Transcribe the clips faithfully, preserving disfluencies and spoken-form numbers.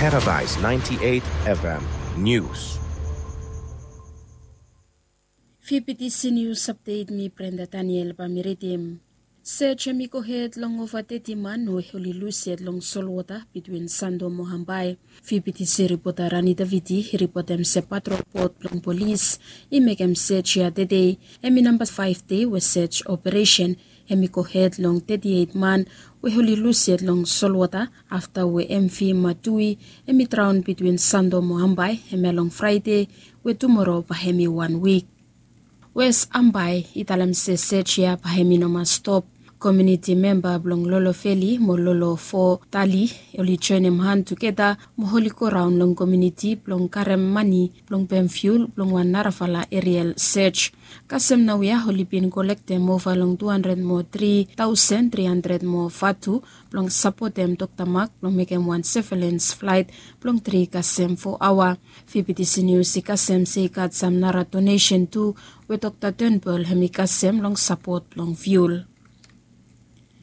Paradise ninety-eight F M News. Fifty C News Update, mi Brenda Daniel bae mi ridim. Sej hemi gohed long ova teti man we oli lus yet long solwota bitwin Sando mo Hambai. Fifty C ripota Rani Davidi i ripotem se patrol bot blong polis i mekem sej ya tede. Hemi namba faef dei we sej operesen hemi gohed long teti eit man we oli lus yet long solwota afta we M V Matui hemi draon bitwin Sando mo Hambai hemia long Fraede, we tumoro bae hemi wan wik. Wes Hambai i talem se sej ya bae hemi no mas stop. Komuniti memba blong Lolo Veli mo Lolo Fo Tali oli joenem han tugeta mo oli goraon long komuniti blong karem mane blong pem fiul blong wan narafala erial sej. Kasem naoia oli bin kolektem ova long tu handred mo tri taosen tri handred mo vatu blong sapotem Dokta Mak blong mekem wan sevelens flaet blong tri kasem fo aoa. Fifty C News i kasem se i gat sam nara donesen tu we Dokta Turnbull hemi kasem long sapot blong fiul.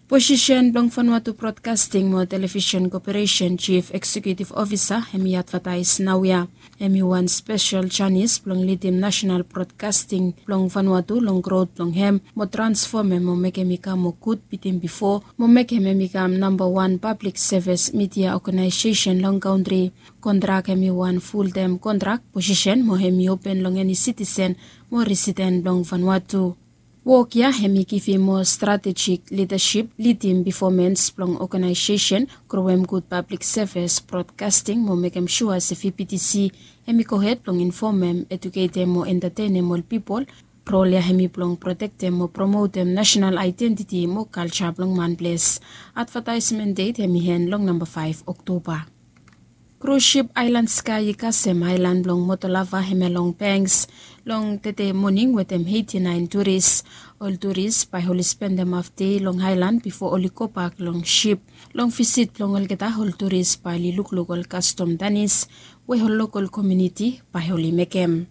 Posisen blong Vanuatu Broadcasting mo Television Corporation Chief Executive Officer hemi advataes naoia. Hemi wan spesel janis blong lidim nasenal brodkasting blong Vanuatu long grot blong hem mo transfomem mo mekem i kam moa gud bitim bifo mo mekem hem i kam nambawan pablik sevis midia oganaesesen long kantri. Kontrak hemi wan fultem kontrak posisen mo hemi open long eni sitisen mo residen blong Vanuatu. Wok ya hemi givim moa stratejik lidasip, lidim pefomens blong oganaesesen, growem gud pablik sevis brodkasting mo mekem sua se V B T C hemi gohed blong infomem, eduketem mo entatenem ol pipol. Rol ya hemi blong protektem mo promotem nasenal aedentiti mo kalja blong manples. Advataesmen det hemi en long namba faef Oktoba. Krus sip Island Sky i kasem aelan blong Motolava hemia long Banks long tede moning wetem eiti naen turis. Ol turis bae oli spendem hafdei long aelan bifo oli gobak long sip. Long visit blong olgeta ol turis bae oli lukluk ol kastom danis we ol lokol komuniti bae oli mekem.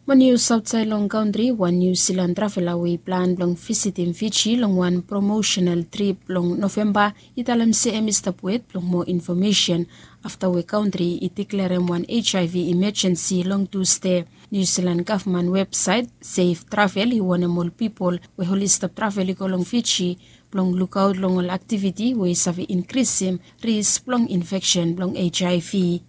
Mo nius aotsaed long kantri, wan Niu Silan travela we i plan blong visitim Fiji long wan promosenal trip long Novemba i talem se hemi stap wet blong moa infomesen afta we kantri i deklarem wan HIV imejensi long Tusde. Niu Silan gavman websaet Safe Travel i wonem ol pipol we oli stap travel i go long Fiji blong lukaot long ol aktiviti we i save inkrisim risk blong infeksen blong HIV.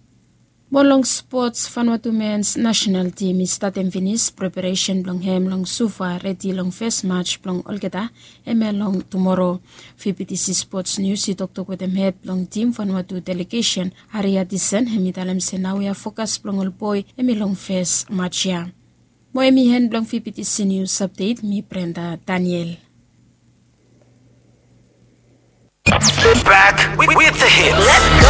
Mo long spots, Vanuatu mens nasenal tim i statem finis preparesen blong hem long Suva redi long fes maj blong olgeta hemia long tumoro. V B T C Spots Nius i toktok wetem hed blong tim Vanuatu delegesen Aria Disen, hemi talem se naoia fokas blong ol boe hemi long fes maj ya. Mo hemi en blong V B T C Nius Apdet, mi Brenda Daniel. Back with, with the hits. Let's